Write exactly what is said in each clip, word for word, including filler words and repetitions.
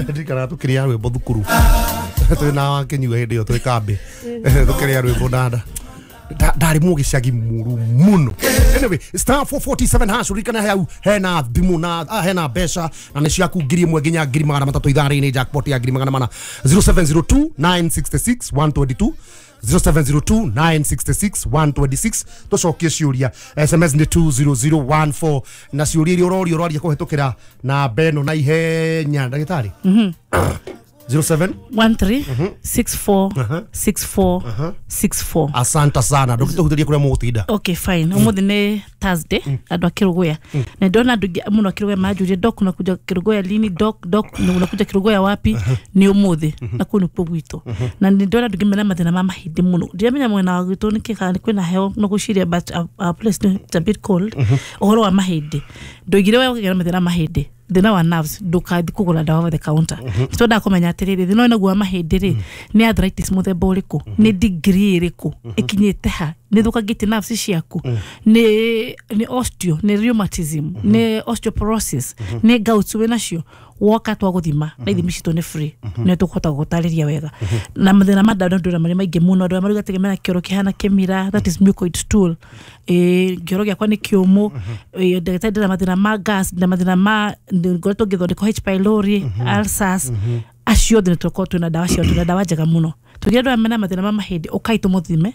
Ndirikanaga tũkĩrĩa rwĩmbo thukuru twĩ na wakinyua hĩndĩ ĩyo twĩ kambĩ tũkĩrĩa rwĩmbo nda ndarĩ mũgĩcagi mũru mũno. Anyway, star four forty-seven hash, ririkana hau hena thimũ na ah, hena mbeca na nĩ ciaku ngiri ĩmwe nginya ngiri magana matatũ ithaa-inĩ, jackpot ya ngiri magana mana. Zero seven zero two nine sixty six one twenty two, zero seven zero two nine sixty six one twenty six. Tũcokie ciũria, S M S nĩ two zero zero one four na ciũria iria ũrorio ũraria kũhetũkĩra namba ĩno na ihenya ndagĩtarĩ. Zero seven one three six four six four six four. Asante sana. Ndũgĩtũhutĩrie kũrĩa mũgũtinda. Okay, fine. Ũmũthĩ nĩ Thursday, andũ a Kĩrũgũya. Na ndona andũ aingĩ mũno a Kĩrũgũya manjũria, Doc unakuja Kĩrũgũya lini? Doc, Doc unakuja Kĩrũgũya wapi? Nĩ ũmũthĩ. Na kũu nĩkuo gwitũ. Na nĩ ndona andũ aingĩ mena mathĩna ma mahĩndĩ mũno. Ndiramenya mwena wa gwitũ nĩkĩ kana nĩ kwĩna heho no gwĩciria, but our, our place it's a bit cold. Ũhoro wa mahĩndĩ. Ndoigire we ũkĩgĩa na mathĩna ma mahĩndĩ, thĩna wa nerves, ndũkathi kũgũra ndawa over the counter. Nĩtwendaga kũmenya atĩrĩrĩ, thĩna ũyũ naguo wa mahĩndĩ rĩ, nĩ arthritis mũthemba ũrĩkũ, nĩ degree ĩrĩkũ, ĩkinyĩte ha, nĩ thũkangĩtie nerves ciaku, nĩ nĩ osteo, nĩ rheumatism, nĩ osteoporosis, nĩ gout wĩnacio. Woka twagũthima na ithimi citũ nĩ free, nĩ tũkũhota gũgũtarĩria wega. Na mathĩna ma nda ndũra marĩ maingĩ mũno, andũ arĩa marauga atĩ mena kĩoro kĩhana kĩmira, that is mucoid stool, ĩ kĩoro gĩakwa nĩ kĩũmũ, ĩ ndagĩtarĩ ndĩna mathĩna ma gas, ndĩna mathĩna ma ngoretwo ngĩthondekwo H pylori, ulcers, acio othe nĩ tũkorwo twĩna ndawa ciao, twĩna ndawa njega mũno. Tũgĩra andũ aya mena mathĩna ma mahĩndĩ, ũkai tũmũthime,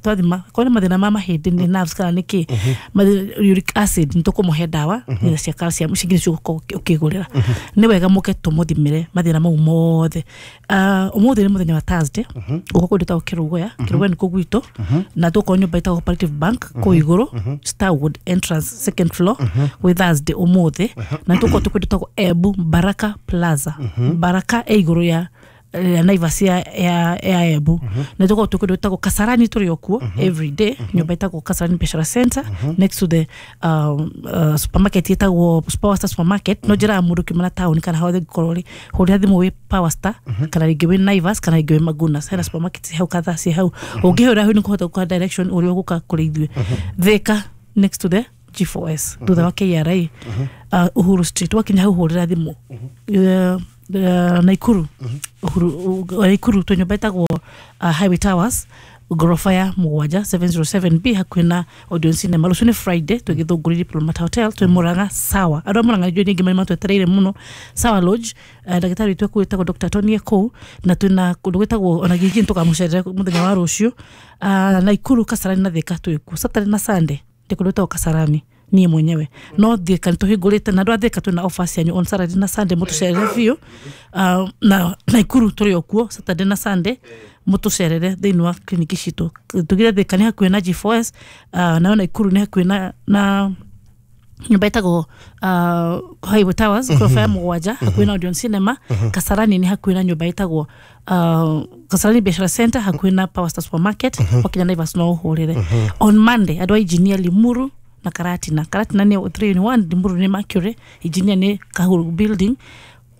twathima korwo nĩ mathĩna ma mahĩndĩ nĩ nerves kana nĩ kĩ, uric acid, nĩ tũkũmũhe ndawa nĩ cia calcium, ici ingĩ nĩcio ũgũkorwo ũkĩgũrĩra. Nĩ wega mũke tũmũthimĩre mathĩna mau mothe. Ũmũthĩ nĩ mũthenya wa Thursday, gũka kũndũ gwĩtagwo Kĩrũgũya, Kĩrũgũya nĩkuo gwitũ, na tũgũkorwo nyũmba ĩtagwo Cooperative Bank kũu igũrũ, Starwood entrance second floor, gwĩ Thursday ũmũthĩ, na tũgũkorwo twĩ kũndũ gwĩtagwo Embu Baraka Plaza. Baraka ĩ igũrũ ya ya Naivas ya ya ya Embu. Na tũkorwo twĩ kũndũ gwĩtagwo Kasarani, tũrĩ o kuo every day, nyũmba ĩtagwo Kasarani Biashara Center, next to the um, uh, supermarket ĩtagwo Power Star Supermarket. No njĩraga mũndũ ũkiuma na taũni kana hothe ũngĩkorwo rĩ, hũrĩra thimũ wĩ Power Star kana rĩngĩ wĩ Naivas kana rĩngĩ wĩ Magunas, hena supermarket ci hau kadhaa ci hau. Ũngĩhũra hau nĩ ũkũhota gũkũhe direction ũrĩa ũgũka kũrĩ ithuĩ. Thika next to the G four S thutha wa K R A, uh, Uhuru Street, wakinya hau hũrĩra thimũ. Uh, Uh, Naikuru, Uhuru, uh, Naikuru twĩ nyũmba ĩtagwo uh, Highway Towers, gorofa ya mũgwanja seven zero seven B hakuhĩ na Odeon Cinema. Rũciũ nĩ Friday, twĩ Gĩthũngũri Diplomat Hotel, twĩ Murang'a Sawa. Andũ a Murang'a nĩ aingĩ matwetereire mũno. Sawa Lodge, uh, ndagĩtarĩ witũ kũu wĩtagwo Doctor Tony e kũu, na twĩna kũndũ gwĩtagwo ona Gĩgĩ tũkamũcerera mũthenya wa rũciũ. Uh, Naikuru, Kasarani na Thika twĩ kuo Saturday na Sunday, ndĩ kũndũ gwĩtagwo Kasarani niĩ mwenyewe. No Thika nĩtũhingũrĩte na andũ a Thika twĩna offers cianyu on Saturday na Sunday, mũtũcerere biũ. Uh, na Naikuru tũrĩ o kuo Saturday na Sunday, mũtũcerere thĩinĩ wa kliniki citũ. Tugire Thika nĩ hakuhĩ na G four S, uh, nayo Naikuru nĩ hakuhĩ na, na nyũmba ĩtagwo uh, Highway Towers, gorofa ya mũgwanja, hakuhĩ na Odeon Cinema. Kasarani nĩ hakuhĩ na nyũmba ĩtagwo uh, Kasarani Biashara Center, hakuhĩ na Power Star Supermarket. Wakinya Naivas no ũhũrĩre. On Monday andũ a engineer Limuru na Karatina, Karatina nĩ three in one, Limuru nĩ Mercury, engineer nĩ Kahuru building.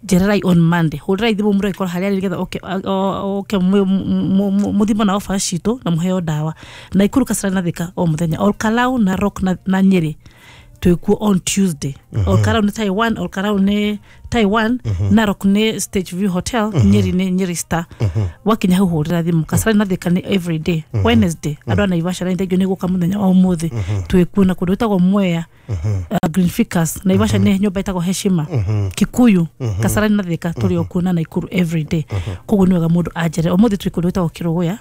Njererai on Monday, hũrĩrai thimũ mũrore korwo harĩa arĩ nĩgetha oke oke mũthimo na offer citũ na mũheo ndawa. Naikuru, Kasarani na Thika o mũthenya. Olkalau na Rock na, na Nyeri twĩ kuo on Tuesday. Olkalau nĩ Taiwan, Olkalau nĩ Taiwan, Narok nĩ Stage View Hotel, Nyeri nĩ Nyeri Star. Wakinya hau hũrĩra thimũ. Kasarani na Thika nĩ every day. Wednesday andũ a Naivasha na thengiũ nĩ gũka mũthenya wa ũmũthĩ, twĩ kuo na kũndũ gwĩtagwo Mwea, uh, Green Ficus, Naivasha nĩ nyũmba ĩtagwo Heshima, Kikuyu, Kasarani na Thika tũrĩ o kuo na Naikuru every day. Koguo nĩ wega mũndũ anjere. Ũmũthĩ twĩ kũndũ gwĩtagwo Kĩrũgũya,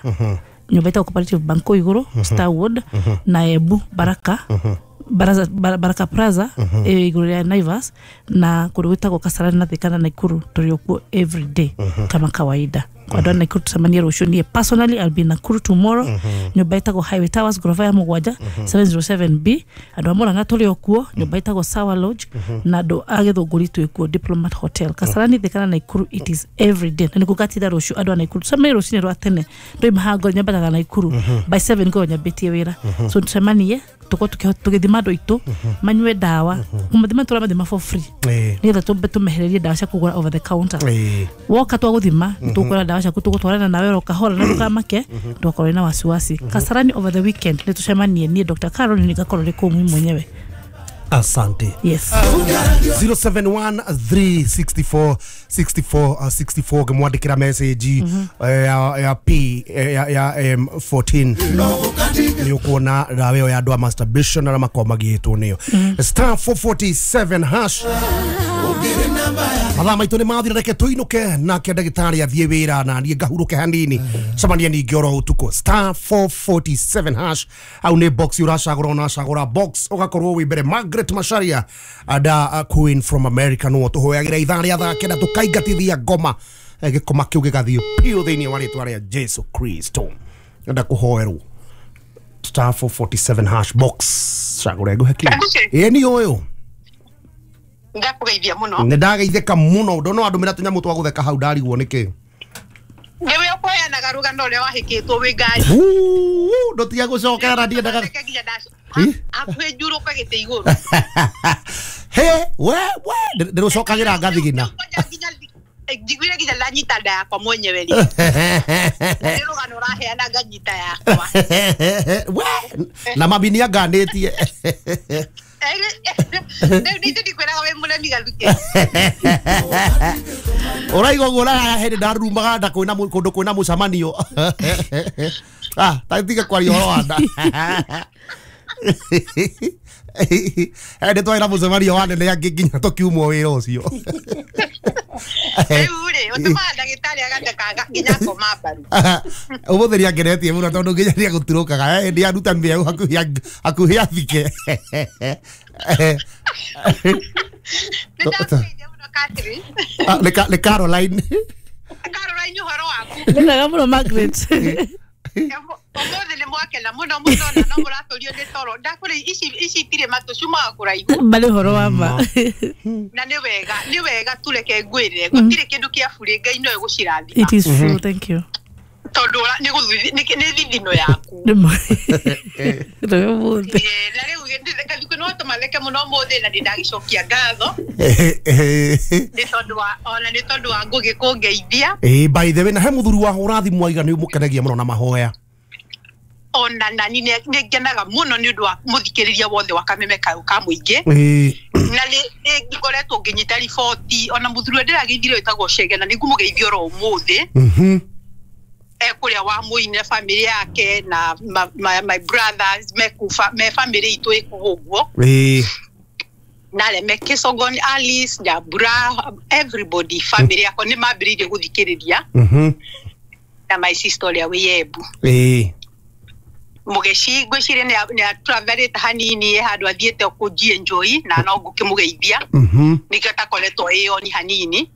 nyũmba ĩtagwo Cooperative Bank kũu igũrũ, Starwood, na Embu Baraka, Baraza, Baraka Plaza ĩ igũrũ rĩa Naivas, na kũndũ gwĩtagwo Kasarani na Thika na Naikuru tũrĩ o kuo every day kama kawaida. Andũ a Naikuru tũcemanie rũciũ. Niĩ personally I'll be in Nakuru tomorrow, nyũmba ĩtagwo Highway Towers, gorofa ya mũgwanja seven zero seven B. Andũ a Murang'a tũrĩ o kuo, nyũmba ĩtagwo Sawa Lodge, na andũ a Gĩthũngũri twĩ kuo Diplomat Hotel. Kasarani, Thika na Naikuru it is every day, na nĩguo ngatinda rũciũ. Andũ a Naikuru tũcemanie rũcinĩ rwa tene, ndoima haha nyambataga Naikuru by seven ngorwo nyambĩtie wĩra, so tũcemanie tũkorwo tũgĩthima andũ aitũ manyue ndawa, kũmathima tũramathima for free nĩgetha tũmbe tũmehererie ndawa cia kũgũra over the counter. Woka twagũthima nĩtũkũgũra ndawa ciaku, tũgũtwarana nawe oro kahora na ndũkamake, ndũgakorwo na wasiwasi. Kasarani over the weekend nĩtũcemanie, niĩ Doctor Carol nĩngakorwo ndĩ kũu mimi mwenyewe. Asante. Yes. zero seven one three six four six four six four ngimwandikira message ya ya P ya ya M fourteen ni ukuona dawa ĩyo ya andũ a masturbation na makorwo magĩtwo nĩyo star four forty-seven hash. Mathaa maitũ nĩ mathira, reke tũinũke nake ndagĩtarĩ athiĩ wĩra na niĩ ngahurũke hanini, cemania ningĩ oro ũtukũ. Star four forty-seven hash au nĩ box ũracagũra, ũnacagũra box ũgakorwo wĩ mbere. Margaret Macharia ada Queen from America no tũhoyagĩra ithaa rĩa thaa kenda tũkaingatithia ngoma, gĩkoma kĩu gĩgathiĩ piũ thĩinĩ wa rĩtwa rĩa Jesu Kristo. Enda kũhoerwo star four forty-seven hash box cagũra ngũhe kĩu. Ĩĩ nĩ ũyũ ndakugeithia muno. Nĩ ndageithĩka muno ndona andũmĩra tũnyamũ twa gũtheka hau ndarigwo nĩkĩ. Nĩwe ũkũheanaga rũgano ũrĩa wahĩkĩtwo wĩ ngari. Ndũtige gũcokera na ndiendaga hakuhĩ njurũke gĩtĩ igũrũ. He we we ndĩrũcokagĩra ngathigina. Njiguire nginya ndanyita nda yakwa mwenyewe rĩ. Nĩ rũgano ũraheana nganyita yakwa. We na mami nĩanganĩtie. Rĩu nĩ ndikwĩraga wĩ mũremi Gathukĩ. Ũraigua ũguo hĩndĩ ndarumaga nda kwĩna kũndũ kwĩna mũcemanio. Ah, ta tiga kwaria ũhoro wa nda. Hĩndĩ twarĩ na mũcemanio wa nene angĩ nginya tũkiumwo wĩra ũcio. Rĩu rĩ, ũtũmaga ndagĩtarĩ agathekaga nginya akoma mbaru. Ũmũthĩ nĩangenetie mũno tondũ nginya nĩegũturũkaga. Hĩndĩ aruta mĩeũ hakuhĩ athike. Nĩndakũgeithia mũno Catherine. Nĩ Caroline. Caroline ũhoro waku? Nĩ mwega mũno Margaret. Ũmũthĩ nĩ mwakena mũno mũno na no mũratũrio nĩ toro. Ndakũrĩ ici ici itirĩ matũ ciumaga kũraihu. Marĩ ũhoro wa ma. Na nĩ wega, nĩ wega tureke ngwĩre gũtirĩ kĩndũ kĩa burĩ Ngai no egũcirathima. It is true, thank you. Tondũ nĩ nĩ thithino yaku. Nĩ ũmũthĩ. Na rĩu Gathukĩ no tũmatheke mũno ũmũthĩ na nĩndagĩcokia ngatho. Nĩ tondũ wa ona nĩ tondũ wa Ngũgĩ kũngeithia. Ĩĩ by the way na he mũthuri wa hũra thimũ aiga nĩ ũmũkenagia mũno na mahoya. Ona nani nĩ ngenaga mũno nĩ ũndũ wa mũthikĩrĩria wothe wa Kameme kayũ ka mũingĩ. Na nĩ ngoretwo ngĩnyita riboti ona mũthuri ũrĩa ndĩrageithirie wĩtagwo Chege na nĩngũmũgeithia oro ũmũthĩ. Ekũrĩa wa mũine family yake na my, my brothers mekufa me family itũ ĩkuo ũguo. Na arĩa me Kĩsogoni, Alice, Nyambura, everybody family yakwa nĩ mambĩrĩirie gũthikĩrĩria. Na my sister ũrĩa wĩ Embu. Mũgeci ngwĩciria nĩ atravelete hanini handũ athiĩte kũnji enjoy na no ngũkĩmũgeithia. Nĩkĩo atakoretwo ĩoni hanini.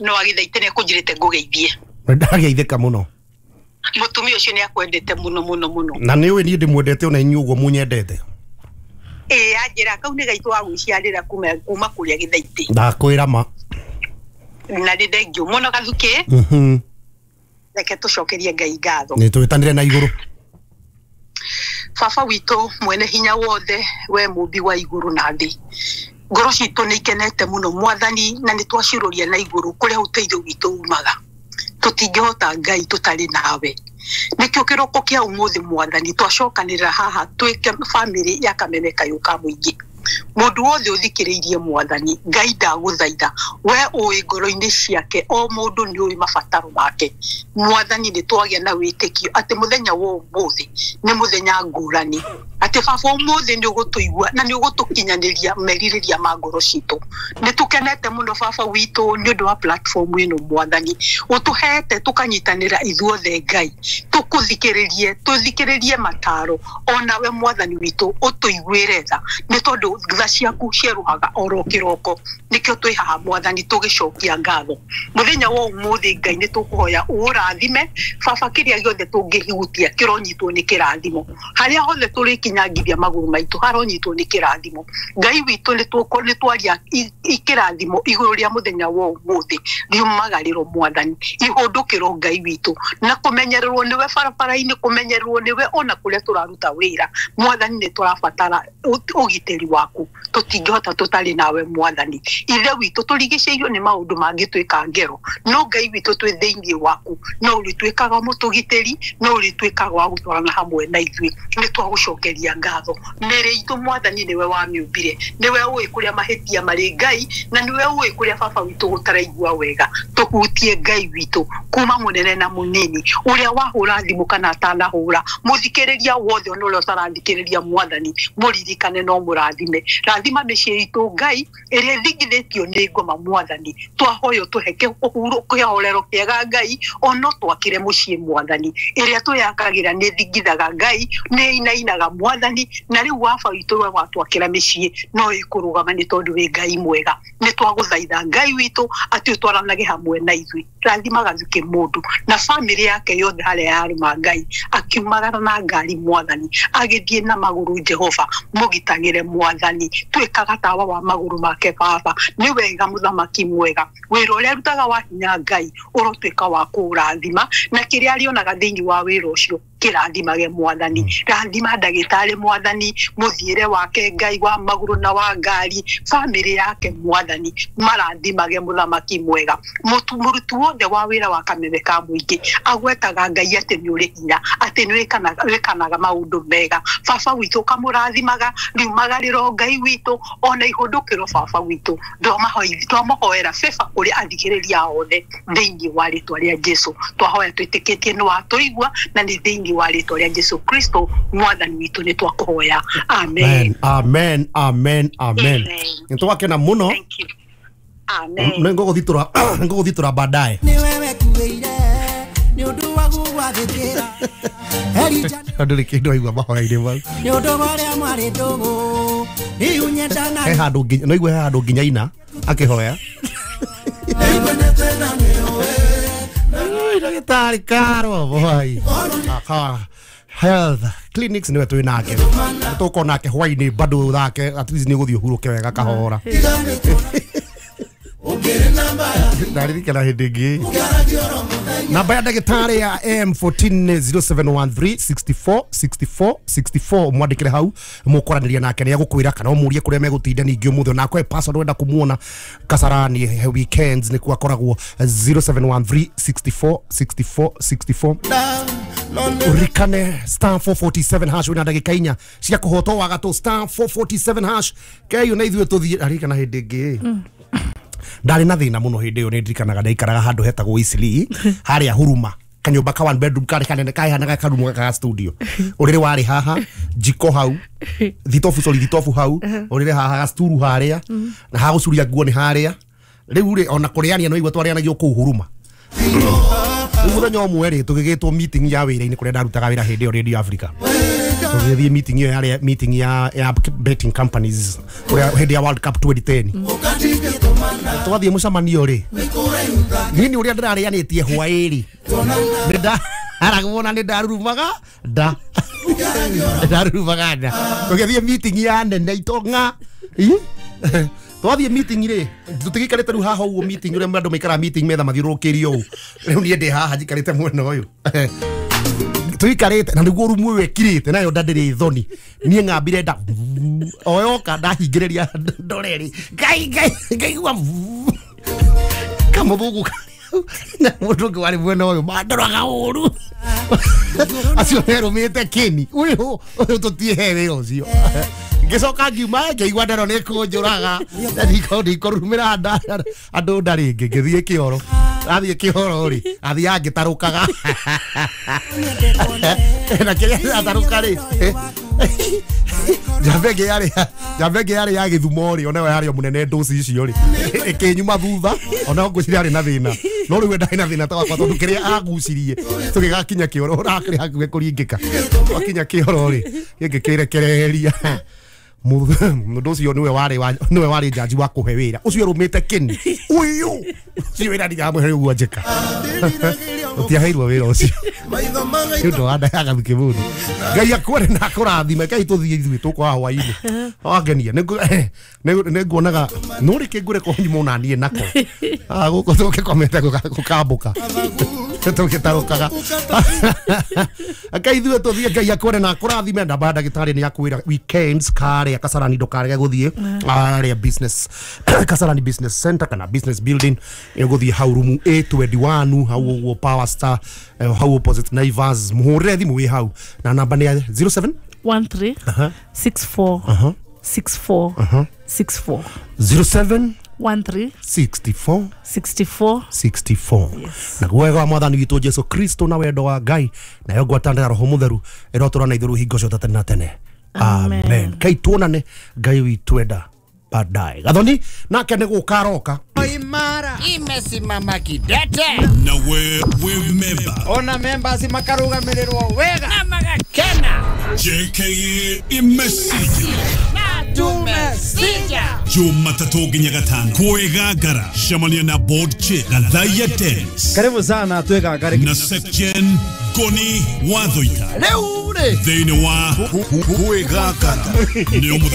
No agĩthaite nĩ ekũnjĩrĩte ngũgeithie. Ndageithĩka mũno. Mũtumia ũcio nĩ akwendete mũno mũno mũno. Na nĩ ũĩ niĩ ndĩmwendete ona inyuĩ ũguo mũnyendete. Ĩĩ anjĩra kau nĩ gaitũ wa gwĩciarĩra kuma kuma kũrĩa gĩthaitĩ. Ndakwĩra ma. Na nĩ thengio mũno Gathukĩ. Reke tũcokerie Ngai ngatho. Nĩ twĩtanĩre na igũrũ. Baba witũ mwene hinya wothe we mũmbi wa igũrũ na thĩ. Ngoro citũ nĩ ikenete mũno mwathani na nĩ twaciũrũria na igũrũ kũrĩa ũteithio witũ umaga. Tũtingĩhota Ngai tũtarĩ nawe. Nĩkĩo kĩroko kĩa ũmũthĩ mwathani twacokanĩrĩra haha twĩke family ya Kameme kayũ ka mũingĩ. Mũndũ wothe ũthikĩrĩirie mwathani Ngai ndagũthaitha we ũĩ ngoro-inĩ ciake o mũndũ nĩ ũĩ mabataro make. Mwathani nĩ twagĩa na wĩtĩkio atĩ mũthenya wa ũmũthĩ nĩ mũthenya ngũrani, atĩ baba ũmũthĩ nĩ ũgũtũigua na nĩ ũgũtũkinyanĩria merirĩria ma ngoro citũ. Nĩ tũkenete mũno baba witũ nĩ ũndũ wa platform ĩno mwathani ũtũhete tũkanyitanĩra ithuothe Ngai tũkũthikĩrĩrie tũthikĩrĩrie mataro onawe mwathani witũ ũtũiguĩre tha nĩ tondũ tha ciaku cierũhaga oro kĩroko. Nĩkĩo twĩ haha mwathani tũgĩcokia ngatho mũthenya wa ũmũthĩ Ngai nĩ tũkũhoya ũrathime baba kĩrĩa gĩothe tũngĩhutia kĩronyitwo nĩ kĩrathimo harĩa hothe tũrĩkinyangithia magũrũ maitũ haronyitwo nĩ kĩrathimo. Ngai witũ nĩ twaria ikĩrathimo igũrũ rĩa mũthenya wa ũmũthĩ riumagarĩro mwathani ihũndũkĩro Ngai witũ na kũmenyererwo nĩwe barabara-inĩ kũmenyererwo nĩwe ona kũrĩa tũraruta wĩra mwathani nĩ tũrabatara ũgitĩri waku. waku tũtingĩhota tũtarĩ nawe mwathani ithe witũ tũrigicĩirio nĩ maũndũ mangĩtuĩka ngero no Ngai witũ twĩ thĩinĩ waku no ũrĩtuĩkaga mũtũgitĩri no ũrĩtuĩkaga wa gũtwarana hamwe na ithuĩ nĩ twagũcokeria ngatho mĩĩrĩ itũ mwathani nĩwe wamĩũmbire nĩwe ũĩ kũrĩa mahĩtia marĩ Ngai na nĩwe ũĩ kũrĩa baba witũ gũtaraigua wega tũhutie Ngai witũ kuma mũnene na mũnini ũrĩa wahũra thimũ kana atanahũra mũthikĩrĩria wothe ona ũrĩa ũtarathikĩrĩria mwathani mũririkane no mũrathime rathima mĩciĩ itũ Ngai ĩrĩa ĩthingithĩtio nĩ ngoma mwathani twahoyo tũhe kĩhorero kĩega Ngai ono twakire mũciĩ mwathani ĩrĩa twĩyakagĩra nĩ thingithaga Ngai nĩ inainaga mwathani na rĩu waba witũ we watwakĩra mĩciĩ no ĩkũrũgama nĩ tondũ wĩ Ngai mwega nĩ twagũthaitha Ngai witũ atĩ ũtwaranage hamwe na ithuĩ rathima Gathuki mũndũ na famĩlĩ yake yothe harĩa yarũma Ngai akiumagara na ngari mwathani agĩthiĩ na magũrũ Jehova mũgitagĩre mwathani twĩkaga tawa wa magũrũ make baba nĩ wega mũthamaki mwega wĩra ũrĩa arutaga wa hinya Ngai ũrotuĩka wa kũũrathima na kĩrĩa arĩonaga thĩinĩ wa wĩra ũcio kĩrathimage mwathani rathima ndagĩtarĩ mwathani mũthiĩre wake Ngai wa magũrũ na wa ngari famĩlĩ yake mwathani marathimage mũthamaki mwega mũruti wothe wa wĩra wa kameme ka mũingĩ agwetaga Ngai atĩ nĩ ũrĩ hinya atĩ nĩ wĩkanaga maũndũ mega baba witũ ũkamũrathimaga riumagarĩro Ngai witũ ona ihũndũkĩro baba witũ twamahoera beba kũrĩ athikĩrĩria othe thĩinĩ wa rĩtwa rĩa Jesu twahoya twĩtĩkĩtie nĩ watũigua na nĩ thĩinĩ wa rĩtwa rĩa Jesu Kristo mwathani witũ nĩ twakũhoya amen amen amen amen nĩ twakena mũno. Amen. Nĩ ngũgũthitura ngũgũthitura baadaye nĩ wewe kuĩire nĩ ũndũ wa gũgwathĩkĩra ndũrĩ kĩndũ aigua mahoya-inĩ mau nĩ ũndũ wa ũrĩa mwarĩ ndũgũ iunyendana he handũ nginya no igue he handũ nginya ina akĩhoya ndagĩtarĩ Karo boy Health clinics niwe twĩ nake tũkorwo nake hwainĩ bado thake at least nĩ ũgũthiĩ ũhurũke wega kahora ndaririkana hĩndĩ ĩngĩ namba ya ndagĩtarĩ ya M fourteen zero seven one three six four six four six four mwandĩkĩre hau mũkwaranĩria nake nĩ egũkwĩra kana ũmũrie kũrĩa megũtinda ningĩ ũmũthĩ ona akwe password wenda kũmuona Kasarani weekends nĩkuo akoragwo zero seven one three six four six four six four urikane star four forty-seven hash wĩna ndagĩka inya cia kũhotwo wa gatũ star four forty-seven hash keyo na ithuĩ tũthiĩ aririkana hĩndĩ ĩngĩ ndarĩ na thĩna mũno hĩndĩ ĩyo nĩ ndirikanaga ndaikaraga handũ hetagwo Eastleigh harĩa Huruma kanyũmba ka one bedroom karĩ kanene kahanaga karumu ga studio ũrĩrĩ warĩ haha jiko hau thitobu sorry thitobu hau ũrĩrĩ haha gacturu harĩa na hagũcuria nguo nĩ harĩa rĩu rĩ ona kũrĩania no igua twarĩanagio kũu Huruma rĩu mũthenya ũmwe rĩ tũgĩgĩtwo meeting ya wĩra-inĩ kũrĩa ndarutaga wĩra hĩndĩ ĩyo Radio Africa tũgĩthiĩ meeting ĩyo yarĩ meeting ya ya betting companies kũrĩa hĩndĩ ya World Cup twenty ten twathiĩ mũcemanio rĩ niĩ nĩ ũrĩa ndĩrarĩanĩtie hwaĩ-rĩ nĩ ndaragwo na nĩ ndarurumaga nda ndarurumaga nda tũgĩthiĩ meeting ya nene itonga twathiĩ meeting rĩ tũtigĩikarĩte rĩu haha ũguo meeting ũrĩa andũ maikaraga meeting metha mathiũrũrũkĩirio ũũ rĩu niĩ ndĩ haha njikarĩte mwena ũyũ tuikarĩte na nĩguo rumu ĩyo ĩkirĩte nayo nda ndĩrĩ thoni niĩ ng'ambire nda o yoka ndahingĩrĩria ndore rĩ ngai ngai ngaigua kamũthũngũ na mũndũ ũngĩ warĩ mwena ũyũ mandoraga ũru acio merũmĩte kĩni ũyũ ũyũ tũtiĩhe wĩra ũcio ngĩcoka ngiuma ngĩigua ndero nĩ kũnjũraga ndikũrumĩra andũ nda rĩngĩ ngĩthiĩ kĩoro athiĩ kĩoro rĩ athiaga ngĩtarũkaga na kĩrĩa atarũka rĩ njamba ĩngĩ yarĩ njamba ĩngĩ yarĩ ya Gĩthumo rĩ onayo yarĩ o mũnene ndũci icio rĩ ĩkĩnyuma thutha onayo ngwĩciria yarĩ na thĩna no rĩu we ndarĩ na thĩna ta wakwa tondũ kĩrĩa agucirie tũgĩgakinya kĩoro ũrakĩrĩ hakuhĩ kũringĩka twakinya kĩoro rĩ gĩkĩ kĩrekereria mũndũ ũcio nĩwe warĩ nĩwe warĩ jaji wa kũhe wĩra ũcio rũmĩte kĩni ũyũ ũcio wĩra ndiramũhe ũguo njĩka ũtiaheirwo wĩra ũcio nĩ ũndũ wa nda ya Gathuki mũndũ Ngai akwere na akũrathime Ngai tũthiĩ ithuĩ tũkwaha hwaĩ-inĩ wangenia nĩ nguonaga no rĩkĩ ngũre kũnyuma ona niĩ nako gũkũ tũgĩkomete gũkambũka. Tũgĩtarũkaga. Ngai ithuĩ tũthiĩ, Ngai akwende na akũrathime. Namba ya ndagĩtarĩ nĩ akwĩra weekends karĩa Kasarani ndũkarege gũthiĩ arĩa business Kasarani Business Center kana business building, ĩgũthiĩ hau rumu A twenty-one hau ũguo Power Star, eh, hau opposite Naivas. Mũhũrĩre thimũ wĩ hau na namba nĩ ya zero seven one three six four six four six four zero seven one three sixty-four sixty-four sixty-four. Yes. Na wega wa mwathani witũ Jesu Kristo na wendo wa Ngai nayo ngwatanĩro ya Roho Mũtheru ĩrotũra na ithuĩ hingo ciothe tene na tene. Amen. Amen. Ngai tuonane, Ngai witũ enda baadaye. Gathoni nake nĩ gũka aroka. Imara imesimama kidete na we we member ona members makarugamirĩrwo wega na magakena. J K A imesija na tumesija Jumatatu nginya gatano kwegangara cemania na board chair Gathaiya Dennis. Karibu sana twegangare na Sepjen Goni Wathoita rĩu rĩ thĩinĩ wa kwegangara nĩ mũthenya.